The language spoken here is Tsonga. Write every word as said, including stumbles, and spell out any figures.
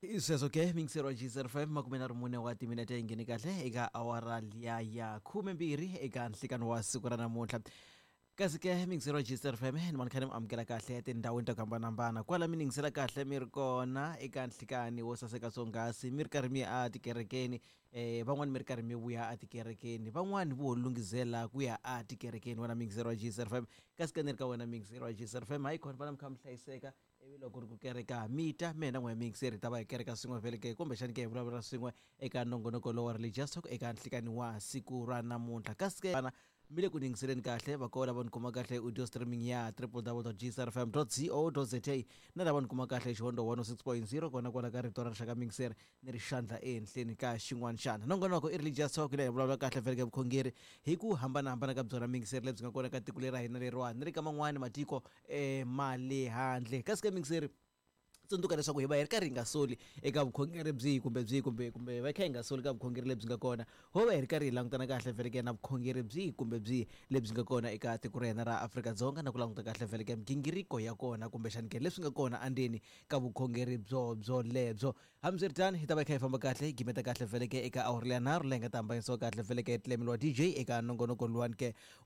Sweswo ke mingisero wa G five makume nharhu mune wa timinete yi nghene kahle eka awara liya ya khumembirhi eka nhlikani wa siku ra namuntlha. Kasi ke mingisero wa G five ni mani kha ni mi amukela kahle etindhawini ta ku hambanahambana kwala mi ningisela kahle mi ri kona eka nhlikani wo saseka swonghasi, mi ri karhi mi ya etikerekeni, eh van'wani mi ri karhi mi vuya etikerekeni, van'wani vo lunghizela ku ya etikerekeni. Wena mingisero wa G five, kasi ke ni ri ka wena mingisero wa G five hayi khona fana mi kha mi hlayiseka. Ivi loko ri ku kereka mi ta mina n'we mingiseri hi ta va hi kereka swin'we vhele ke kumbexani ke hi vulavula swin'we eka nongonoko lowa Religious Talk eka nhlikani wa siku ra namuntlha. Kasi ke vana mi le ku yingiseleni kahle va kona lava ni kuma kahle audio streaming ya w w w dot g c r f m dot co dot z a na lava ni kuma kahle xihondo one oh six point zero kona kwala ka rito ra rixaka mingiseri ni ri xandla ehenhleni ka xin'wana xana. Nongonoko i Religious Talk leyi hi vulavula kahle vhele ke vukhongeri hi ku hambanahambana ka byona mingiseri lebyi nga kona ka tiko leri ra hina leriwani ni ri ka man'wani matiko eh ma le handle. Kasi ke mingiseri tsundzuka leswaku hi va hi ri karhi hi nga soli eka vukhongeri byihi kumbe byihi kumbe kumbe hi va kha hi nga soli ka vukhongeri lebyi nga kona, ho va hi ri karhi hi langutana kahle vhele ke na vukhongeri byihi kumbe byihi lebyi nga kona eka tiko ra hina ra Afrika-Dzonga na ku languta kahle vhele ke migingiriko ya kona kumbexani ke leswi nga kona endzeni ka vukhongeri byo byo lebyo. Hambiswiritano hi ta va hi kha hi famba kahle hi gimeta kahle vhele ke eka awara leya nharhu leyi nga ta hambanyisiwa kahle vhele ke tlemeliwa D J eka nongonoko luwani ke